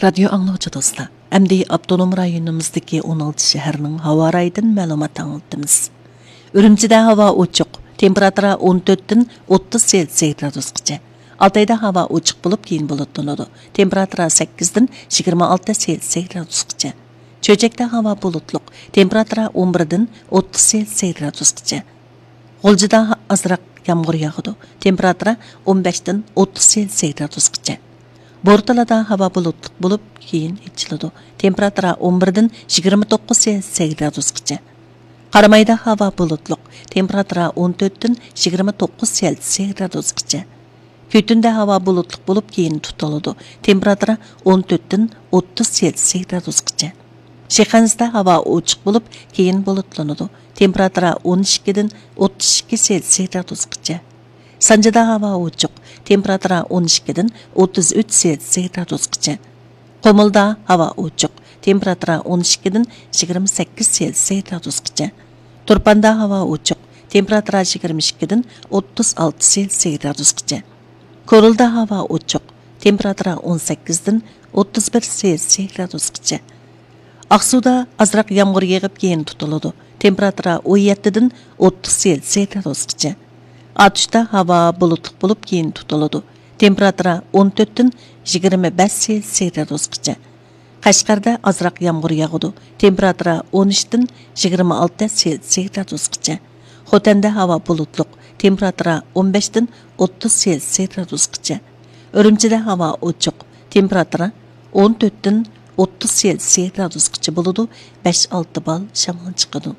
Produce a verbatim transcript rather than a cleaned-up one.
رادىيو ئاڭلىغۇچى دوستلار، ئەمدى ئاپتونوم رايونىمىزدىكى ئون ئالتە شەھەرنىڭ ھاۋا رايىدىن مەلۇمات ئاڭلىتىمىز. ئۈرۈمچىدە ھاۋا ئوچۇق، تېمپېراتۇرا ئون تۆتتىن ئوتتۇز سېلسىيە گرادۇسقىچە. ئالتايدا ھاۋا ئوچۇق بولۇپ، كېيىن بۇلۇتلىنىدۇ، تېمپېراتۇرا سەككىزدىن يىگىرمە ئالتە سېلسىيە گرادۇسقىچە. چۆچەكتە ھاۋا بۇلۇتلۇق، تېمپېراتۇرا ئون بىردىن ئوتتۇز سېلسىيە گرادۇسقىچە. غۇلجىدا ئازراق يامغۇر ياغىدۇ، تېمپېراتۇرا ئون بەشتىن ئوتتۇز سېلسىيە گرادۇسقىچە. بورتالادا ھاۋا بۇلۇتلۇق بولۇپ، كېيىن ئېچىلىدۇ، تېمپېراتۇرا ئون بىردىن يىگىرمە توققۇز سېلسىيە گرادۇسقىچە. قارامايدا ھاۋا بۇلۇتلۇق، تېمپېراتۇرا ئون تۆتتىن يىگىرمە توققۇز سېلسىيە گرادۇسقىچە. كۈتۈندە ھاۋا بۇلۇتلۇق بولۇپ، كېيىن تۇتىلىدۇ، تېمپېراتۇرا ئون تۆتتىن ئوتتۇز سېلسىيە گرادۇسقىچە. شىخەنزىدە ھاۋا ئوچۇق بولۇپ، كېيىن بۇلۇتلىنىدۇ، تېمپېراتۇرا ئون ئىككىدىن ئوتتۇز ئىككى سېلسىيە گرادۇسقىچە. سانجىدا ھاۋا ئوچۇق، تېمپېراتۇرا ئون ئىككىدىن ئوتتۇز ئۈچ سېلسىيە گرادۇسقىچە. قۇمۇلدا ھاۋا ئوچۇق، تېمپېراتۇرا ئون ئىككىدىن يىگىرمە سەككىز سېلسىيە گرادۇسقىچە. تۇرپاندا ھاۋا ئوچۇق، تېمپېراتۇرا يىگىرمە ئىككىدىن ئوتتۇز ئالتە سېلسىيە گرادۇسقىچە. كورلىدا ھاۋا ئوچۇق، تېمپېراتۇرا ئون سەككىزدىن ئوتتۇز بىر سېلسىيە گرادۇسقىچە. ئاقسۇدا ئازراق يامغۇر يېغىپ، كېيىن تۇتۇلىدۇ، تېمپېراتۇرا ئون يەتتىدىن ئوتتۇز سېلسىيە گرادۇسقىچە. ئاتۇشتا ھاۋا بۇلۇتلۇق بولۇپ، كېيىن تۇتۇلىدۇ، تېمپېراتۇرا ئون تۆتتىن يىگىرمە بەش سېلسىيە گرادۇسقىچە. قەشقەردە ئازراق يامغۇر ياغىدۇ، تېمپېراتۇرا ئون ئۈچتىن يىگىرمە ئالتە سېلسىيە گرادۇسقىچە. خوتەندە ھاۋا بۇلۇتلۇق، تېمپېراتۇرا ئون بەشتىن ئوتتۇز سېلسىيە گرادۇسقىچە. ئۈرۈمچىدە ھاۋا ئوچۇق، تېمپېراتۇرا ئون تۆتتىن ئوتتۇز سېلسىيە گرادۇسقىچە بولىدۇ، بەش ئالتە بال شامال چىقىدۇ.